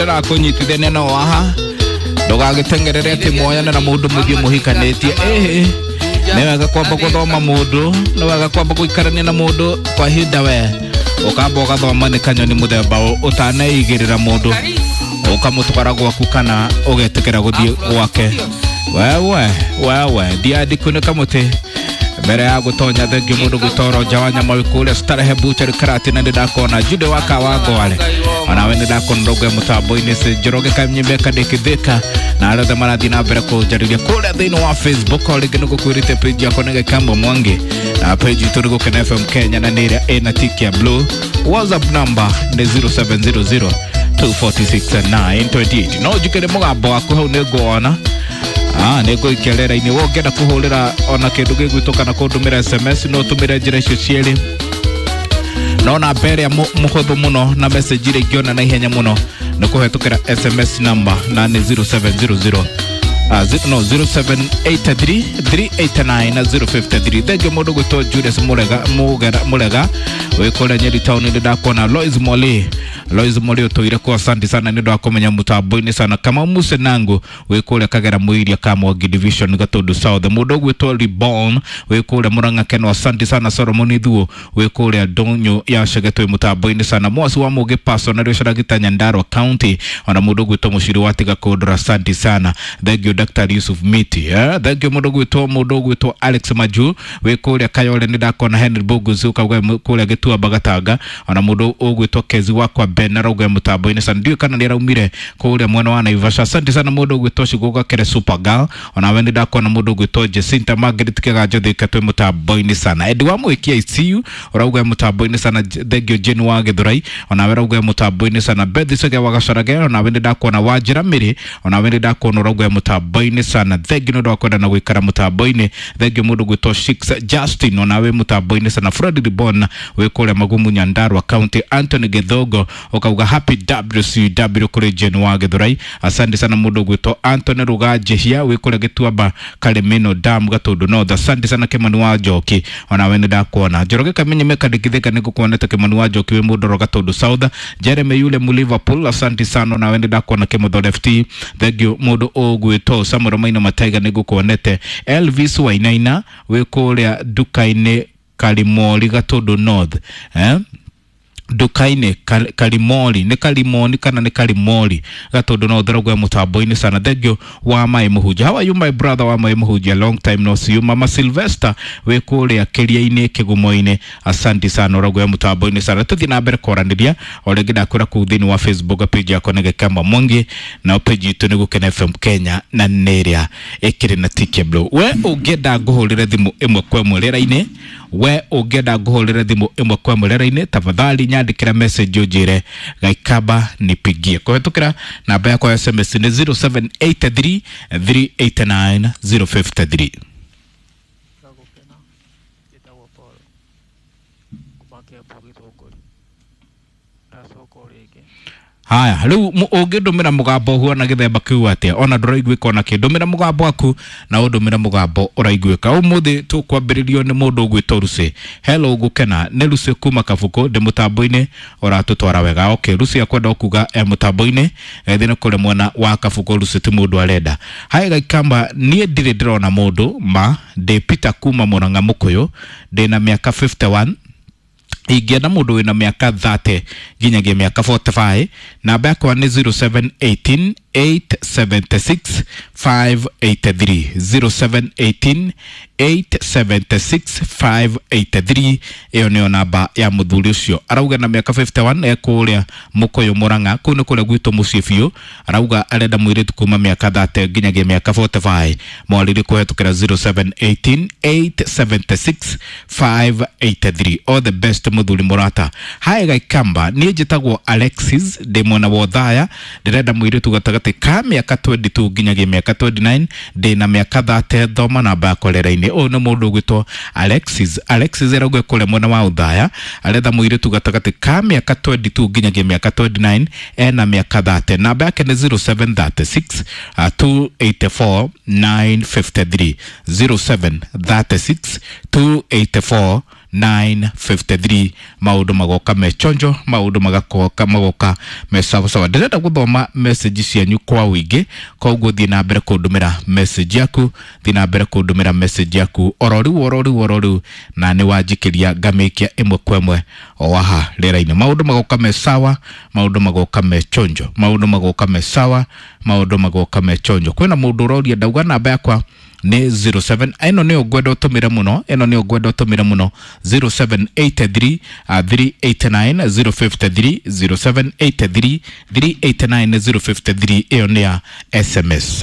Ndĩrakũnyitithania no haha ndũgagĩteng'erere atĩ mwoyane na mũndũ mũthiĩ mũhikanĩtie. Ĩhĩ, nĩ wega kwamba gũthoma mũndũ, nĩ wega kwamba gũikarania na mũndũ kwa ihinda, we ũkamba ũgathoma nĩ kanyoni mũthemba ũ ũtaneigĩrĩra mũndũ ũkamũtwara gwaku kana ũgetĩkĩra gũthiĩ gwake. Wewe wewe ndiandikunĩka mũtĩ mbere ya gũtonya. Thengiũ mũndũ gwĩtoro nja wa nyama kũrĩa Starehe Butchery Karatina, nĩ ndakona Jude wa Kawangware, onawe nĩ ndakona rũgwe mũtambo-inĩ Njoroge Kanyimbe Kadĩkithĩka na arĩa othe marathiĩ na mbere kũnjarĩria kũrĩa thĩinĩ wa Facebook. O rĩngĩ nĩ gũkwĩrĩte page yakwa nĩ Gĩkamba Mwangi na page itũ nĩ Gũkena FM Kenya na nĩ ĩrĩa ĩna tiki ya blue. WhatsApp number nĩ 0700 246 928. No njikĩre mũgambo waku hau nĩ nguona. Ah, nĩ ngũikia rĩera-inĩ. We ũngĩenda kũhũrĩra ona kĩndũ gĩgwĩtwo kana kũndũmĩra SMS, no ũtũmĩre njĩra icio cierĩ, no namba ĩrĩa mũhũthũ mũno na message iria ingĩona na ihenya mũno nĩ kũhetũkĩra SMS number na nĩ 0700 no 0783 389 na 053. Thengio mũndũ gwĩtwo Julius Murega Mugera Murega wĩ kũrĩa Nyeri town, nĩ ndakuona. Lois Mole, Lois Mole ũtũire kwa, asante sana nĩ ũndũ wa kũmenya mũtambo-inĩ sana. Kamau Musenangu wĩ kũrĩa Kagera Mũiria Kamwangi division Gatundu South. Mũndũ ũgwĩtwo Reborn wĩ kũrĩa Murang'a Keno, asante sana. Solomon Thuo wĩ kũrĩa Ndũnyũ ya Chege twĩ mũtambo-inĩ sana. Mwasi wa Mũgĩ Paso na Rĩo Nyandarua County, ona mũndũ ũgwĩtwo Mũciri wa Tiga Kũndũra, asante sana. Thank you Dr. Yusuf Miti, eh? Thank you mũndũ ũgwĩtwo Alex Maju wĩ kũrĩa Kayole, nĩ ndakona. Henry Boguzi ũkauga kũrĩa Gĩtuamba Gatanga, ona mũndũ ũgwĩtwo Kezi wakwa Ben arauga mũtambo-inĩ sana, ndiũĩ kana nĩ araumire kũrĩa mwena wa Naivasha, asante sana. Mũndũ ũgwĩtwo Cigũga Kere Supergirl, ona we nĩ ndakona. Mũndũ ũgwĩtwo Jacinta Margaret Kĩganjo Thika twĩ mũtambo-inĩ sana. Eddie wa Mwĩki ICU ũrauga mũtambo-inĩ sana. Thank you Jane wa Gĩthurai, ona we ũrauga mũtambo-inĩ sana. Beth Sege wa Gacarage, ona we nĩ ndakuona. Wanjĩra Mĩrĩ, ona we nĩ ndakuona ũrauga mũtambo-inĩ sana. Thank you nĩ ũndũ wa kwenda na gũikara mũtambo-inĩ. Thank you mũndũ ũgwĩtwo Shix Justin, ona we mũtambo-inĩ sana. Fred Ribon wĩ kũrĩa Magumu Nyandarua County. Anthony Gĩthongo ũkauga happy WCW kũrĩ Jane wa Gĩthurai, asante sana. Mũndũ ũgwĩtwo Anthony Ruganjĩhia wĩ kũrĩa Gĩtuamba Karimino Dam Gatundu North, asante sana. Kĩmani wa Njoki, ona we nĩ ndakuona. Njoroge Kamenye Mekandĩkithĩka nĩ ngũkuonete. Kĩmani wa Njoki wĩ mũndoro Gatundu South. Jeremy yule mu Liverpool, asante sana, ona we nĩ ndakuona. Kĩmũtho Left, thank you. Mũndũ ũgwĩtwo Samuel Maina Mataiga nĩ ngũkuonete. Elvis Wainaina wĩ kũrĩa nduka-inĩ Karimori Gatundu North, eh? Nduka-inĩ Karimori, nĩ Karimoni kana nĩ Karimori Gatundu no therogwe mũtambo-inĩ sana. Thank you wa Mai Mũhunjia. How are you, my brother wa Mai Mũhunjia? Long time no see you. Mama Sylvester wĩ kũrĩa kĩria-inĩ kĩgumo-inĩ, asante sana, ũrauga mũtambo-inĩ sana. Tũthiĩ na mbere kwaranĩria o rĩngĩ. Ndakwĩra kũu thĩinĩ wa Facebook page yakwa nĩ Gĩkamba Mwangi na page itũ nĩ Gũkena FM Kenya na nĩ ĩrĩa ĩkĩrĩ na tick blue. We ũngĩenda ngũhũrĩre thimũ ĩmwe kwa ĩmwe rĩera-inĩ, we ũngĩenda ngũhũrĩre thimũ ĩmwe kwa ĩmwe rĩera-inĩ, tafadhali nyandĩkĩra message ũnjĩre "Gaikamba nipigie" kũhetũkĩra namba yakwa ya SMS nĩ 0783 389 053. Gũkena, njĩtagwo Paul kuma Kĩambu Gĩthũngũri, ndacoka o rĩngĩ. Haya, rĩu ũngĩndũmĩra mũgambo ũhuana gĩthemba kĩu atĩa ona ndũraiguĩka ona kĩ? Ndũmĩra mũgambo waku na ũndũmĩre mũgambo ũraiguĩka. Ũmũthĩ tũkwambĩrĩrio nĩ mũndũ ũgwĩtwo Lucy. Hello Gũkena, nĩ Lucy kuma Kabuku, ndĩ mũtambo-inĩ ũratũtwara wega. Okay, Lucy akwenda kuga e mũtambo-inĩ ethĩ nĩ kũrĩ mwena wa Kabuku. Lucy ti mũndũ arenda. Hai Gaikamba, niĩ ndirĩ ndĩrona mũndũ ma ndĩ Peter kuma Mũrang'a Mũkũyũ, ndĩna mĩaka 51, ingĩenda mũndũ wĩna mĩaka 30 nginyagia mĩaka 45. Namba yakwa nĩ 0718 876 583, 0718 876 583. Ĩyo nĩyo namba ya mũthuri ũcio. Arauga na mĩaka 51, e kũrĩa Mũkũyũ Mũrang'a, kũu nĩ kũrĩa gwitũ mũciĩ biũ. Arauga arenda mũirĩtu kuma mĩaka 30 nginyagia mĩaka 45. Mwarĩrie kũhetũkĩra 0718 876 583. All the best, mũthuri mũrata. Hai Gaikamba, niĩ njĩtagwo Alexis, ndĩ mwena wa Othaya, ndĩrenda mũirĩtu gatagatĩ ka mĩaka 22 nginyagia mĩaka 29, ndĩna mĩaka 30. Thoma namba yakwa rĩera-inĩ. Ũyũ nĩ mũndũ ũgwĩtwo Alexis. Alexis arauga kũrĩa mwena wa Othaya, aretha mũirĩtu gatagatĩ ka mĩaka 22 nginyagia mĩaka 29, ena mĩaka 30. Namba yake nĩ 0736 284 953, 0736 284 953. Maundu magoka me chonjo, maundu magakoka magoka me sawa sawa. Ndĩrenda gũthoma message cianyu kwa ũingĩ, koguo thiĩ na mbere kũndũmĩra message yaku, thiĩ na mbere kũndũmĩra message yaku oro rĩu oro rĩu oro rĩu, na nĩ wanjikĩria ngamĩkia ĩmwe kwa ĩmwe o haha rĩera-inĩ. Maundu magoka me sawa, maundu magoka me chonjo, maundu magoka me sawa, maundu magoka me chonjo. Kwĩna mũndũ ũroria ndauga namba yakwa nĩ 07, ĩno nĩyo ngwenda ũtũmĩre mũno, ĩno nĩyo ngwenda ũtũmĩre mũno, 0783 389 053, 0783 389 053. Ĩyo nĩ ya SMS.